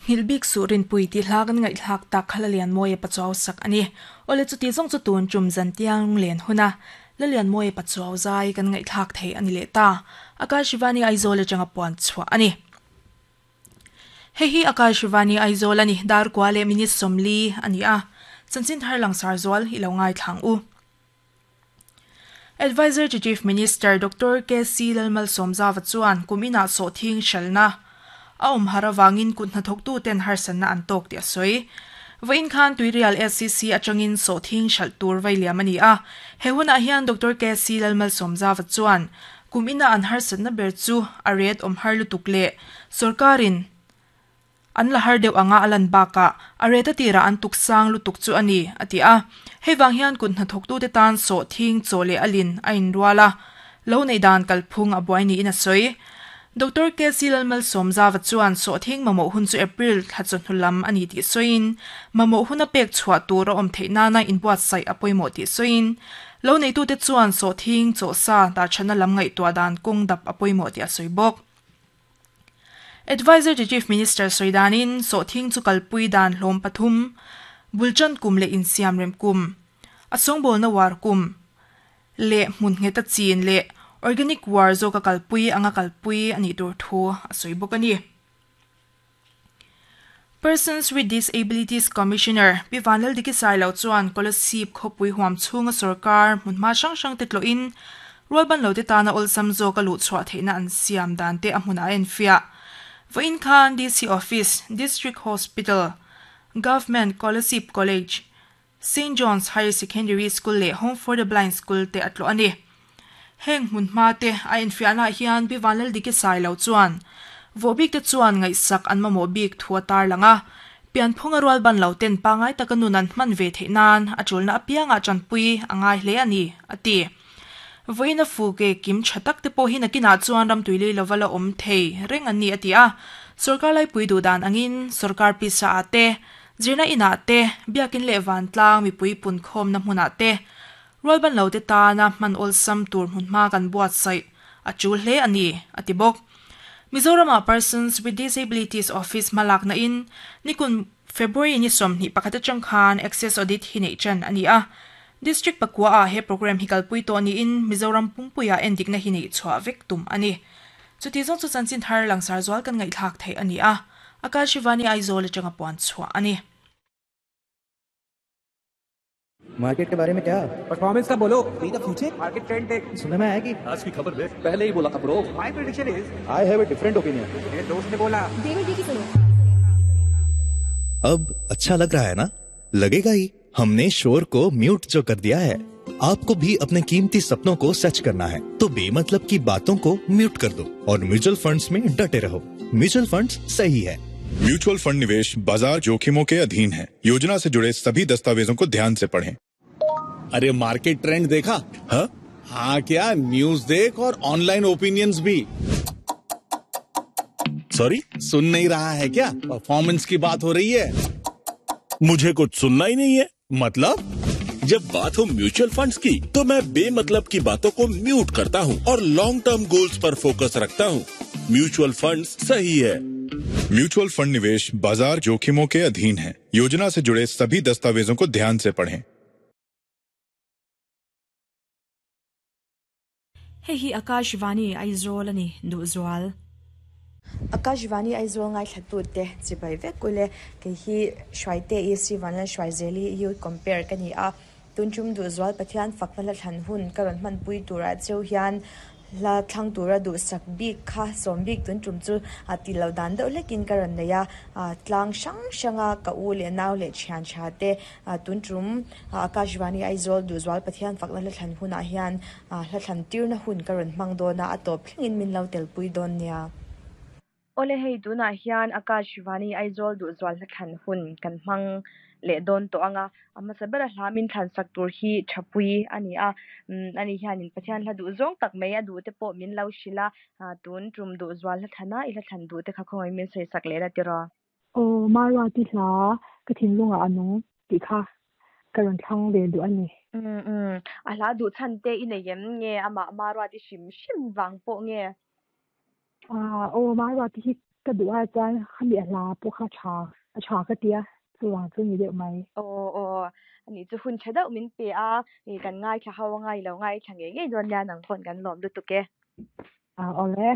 Nghilh bik suh rinpui tih hla kan ngaihthlak tak kha Lalianmawia Pachuau sak a ni. Awle chuti zawng chu tun tum zan tiang len huna Lalianmawia Pachuau zai kan ngaihthlak thei a ni leh ta. Akash Shivani Aizawl atanga puan chhuah a ni. Hei hi Akash Shivani Aizawl a ni, dar kua leh minute 40 a ni a. Chanchin thar langsar zual i lo ngaithla ang u. Adviser to Chief Minister Doctor KC Lalmalsawmzava chuan kum inah sawhthing hralhna a awm har avangin kut hnathawktuten harsatna an tawk tih a sawi. Vawiin khan Tuirial SCC atangin sawhthing hralh tur vai liam a ni a. He hunah hian Doctor KC Lalmalsawmzava chuan kum ina an harsatna ber chu a ret awm har lutuk leh sawrkarin An la har deuh anga a lan bakah a ret a tirah an tuk sang lutuk chu a ni, a ti a. Hei vang hian kut hnathawktute tan sawhthing, chaw leh a lin a inrual a, lo neih dan kalphung a buai niin a sawi. Doctor KC Lalmalsawmzava chuan sawhthing mamawh hun chu April thla chawhnu lam a ni tih sawiin, mamawh huna pek chhuah tur a awm theih nana inbuatsaih a pawimawh tih sawiin, lo neitute chuan sawhthing, chaw sa dahṭhatna lam ngaihtuah dan kawng dap a pawimawh tih a sawi bawk. Adviser to Chief Minister sawi danin sawhthing chu kalpui dan hlawm pathum, bulṭan kum leh insiam rem kum, a sawngbawlna uar kum leh hmun ngheta chin leh organic uar zawka kalpui anga kalpui a nih tur thu a sawi bawk a ni. Persons with Disabilities Commissioner Pi Vanlaldiki Sailo chuan Kolasib khawpui huam chhunga sorkar hmunhma hrang hrang te tlawhin rualbanlote tana awlsam zawka luhchhuah theihna an siam dan te a hmunah a enfiah. Vawiin khan DC Office, District Hospital, Government Kolasib College, Saint John's Higher Secondary School leh Home for the Blind School te a tlawh a ni. Heng hmunhma te a enfiahnaah hian Pi Vanlaldiki Sailo chuan vohbik te chuan ngaihsak an mamawh bik thu a tarlang a, pianphunga rualban lo ten pangngai taka nun an hman ve theih nan a tulna apiangah tanpui a ngai hle a ni, a ti. Vawiin a fu ke kim tha tak te pawh hi nakinah chuan ramtuilei lova la awm thei reng an ni, a ti a. Sorkar laipui duh dan angin sorkar pisa ah te, Zirna inah te, biakin leh vantlang mipui punkhawmna hmunah te, rualban lote tana hman awlsam tur hmunhma kan buatsaih a tul hle a ni, a ti bawk. Mizoramah Persons with Disabilities Office hmalakna in nikun February ni 21 atang khan Access Audit hi neih tan a ni a. District pakua ah he program hi kalpui tawh niin Mizoram pumpuiah endikna hi neih chhuah vek tum a ni. Chuti zawng chu chanchin thar langsar zual kan ngaihthlak theih a ni a. Akashivani Aizawl atanga puan chhuah a ni. Market के बारे में क्या परफॉर्मेंस का बोलो be the future market trend देख सुनने में आया कि आज की खबर देख पहले ही बोला था bro my prediction is I have a different opinion मेरे दोस्त ने बोला डेविड जी की सुनो अब अच्छा लग रहा है ना लगेगा ही हमने शोर को म्यूट जो कर दिया है आपको भी अपने कीमती सपनों को सच करना है तो बेमतलब की बातों को म्यूट कर दो और म्यूचुअल फंड्स में डटे रहो म्यूचुअल फंड्स सही है म्यूचुअल फंड निवेश बाजार जोखिमों के अधीन है योजना से जुड़े सभी दस्तावेजों को ध्यान से पढ़ें अरे मार्केट ट्रेंड देखा हाँ? हाँ क्या न्यूज देख और ऑनलाइन ओपिनियंस भी सॉरी सुन नहीं रहा है क्या परफॉर्मेंस की बात हो रही है मुझे कुछ सुनना ही नहीं है मतलब जब बात हो म्यूचुअल फंड्स की तो मैं बेमतलब की बातों को म्यूट करता हूँ और long term goals पर फोकस रखता हूँ म्यूचुअल फंड्स सही है म्यूचुअल फंड निवेश बाजार जोखिमों के अधीन है योजना से जुड़े सभी दस्तावेजों को ध्यान से पढ़ें Hei hi Akashvani Aizawl a ni, Duhzual. Akashvani Aizawl ngaithlatute chibai vek ule kei hi Hruaite i Sri Vanlal Hruaizeli Youth Compare ka ni a, tuntum Duhzual Pathian fakna hla thlan hun ka rawn hmanpui turah cheu hian hla thlang tura duhsak bik kha sawm bik tuntum chu a ti lo dan deuh hlekin ka rawn nei a, tlang hrang hranga ka u leh nau leh thian tha te tuntum Akashvani Aizawl Duhzual Pathian fakna hla thlan hunah hian Hla thlan tirna hun ka rawn hmang dawn a, a tawp thlengin min lo telpui dawn nia. Awle hei tunah hian Akashvani Aizawl Duhzual hla thlan hun kan hmang leh dawn tawh ang a, a hmasa bera hla min thlan sak tur hi Thapui a ni a, ani hianin Pathian hla duh zawng tak mai a duh te pawh min lo hrilh a, tun tum Duhzual hla thlan a, i hla thlan duh te kha khawngaih min sawi sak leh la tiraw? Aw, Maruati hla ka thinlungah a nung tih kha ka rawn thlang ve duh a ni. Umm umm, a hla duh chhan te i nei em nge amah Maruati hrim hrim vang pawh nge? Aw, Maruati hi. Ka duh a chuan khami a hla pawh kha tha a tha ka tia chuvang chu ni deuh mai. Aw aw ani chu hun tha deuh min pe a i kan ngaithla ho anga i lo ngaithla ngei ngei dawn nia nang pawn kan lawm lutuk e. A awle.